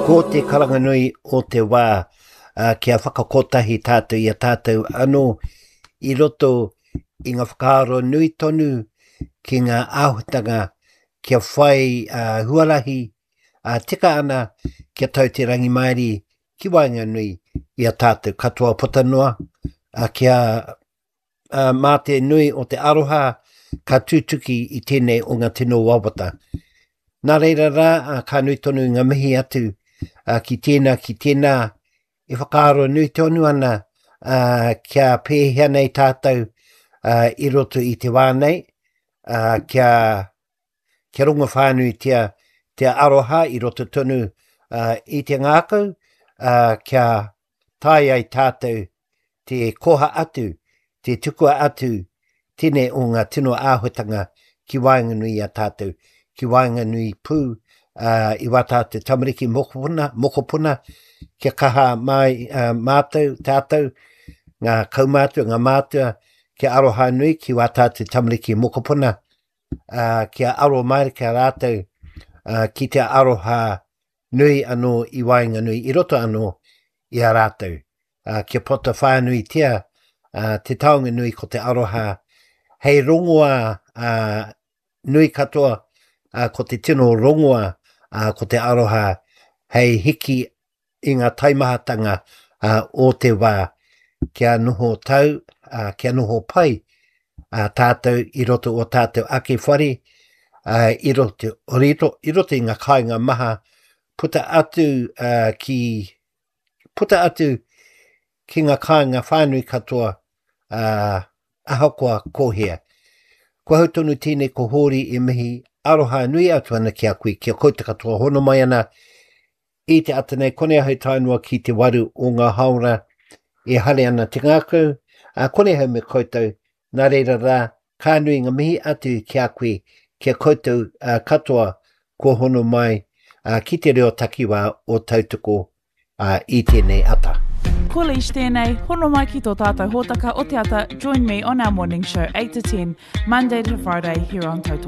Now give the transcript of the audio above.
Ko te karanga nui o te wā kia whakakotahi tātou i a tātou anō i roto i ngā whakaaro nui tonu ki ngā āhuatanga kia whai huarahi tika ana kia tau te rangimārie ki waenganui i a tātou katoa puta noa, kia mā te nui o te aroha ka tutuki i tēnei o ngā tino wawata. Nā reira rā, ka nui tonu ngā mihi atu ki tēnā, ki tēnā, e whakaaro nui tonu ana kia pēhea nei tātou i roto i te wā nei, kia, kia rongo whānuitia te aroha i roto tonu i te ngākau, kia tae ai tātou te koha atu, te tukua atu tēnei o ngā tino āhuatanga ki waenganui i a tātou, ki waenganui pū i wā tātou tamariki mokopuna, mokopuna, kia kaha mai mātou, tātou, ngā kaumātua, ngā mātua, kia aroha nui ki wā tātou tamariki mokopuna, kia aro mārika rātou ki te aroha nui anō i waenganui, i roto anō i a rātou, ā, kia puta whānuitia te taonga nui ko te aroha hei rongoā ā, nui katoa, ā, ko te tino rongoā, ā, ko te aroha hei hiki i ngā taimahatanga ā, o te wā, kia noho tau, ā, kia noho pai ā, tātou i roto o tātou ake whare, ā, i roto, i roto i ngā kāinga maha, puta atu ā, ki, puta atu ki ngā kāinga whānui katoa, ā, ahakoa ko hea. Ko ahau tonu tēnei ko Hōri e mihi aroha nui atu ana ki a koe, ki a koutou katoa hono mai ana I te ata nei, konei ahau tae noa ki te waru o ngā haora e hare ana te ngākau, ā, konei ahau me koutou, nā reira rā, ka nui ngā mihi atu ki a koe, ki a koutou katoa kua hono mai ki te reo takiwā o Tautoko i tēnei ata. Ko Leish tēnei, hono mai ki tō tātou hōtaka o te ata, join me on our morning show 8 to 10, Monday to Friday here on Tautoko.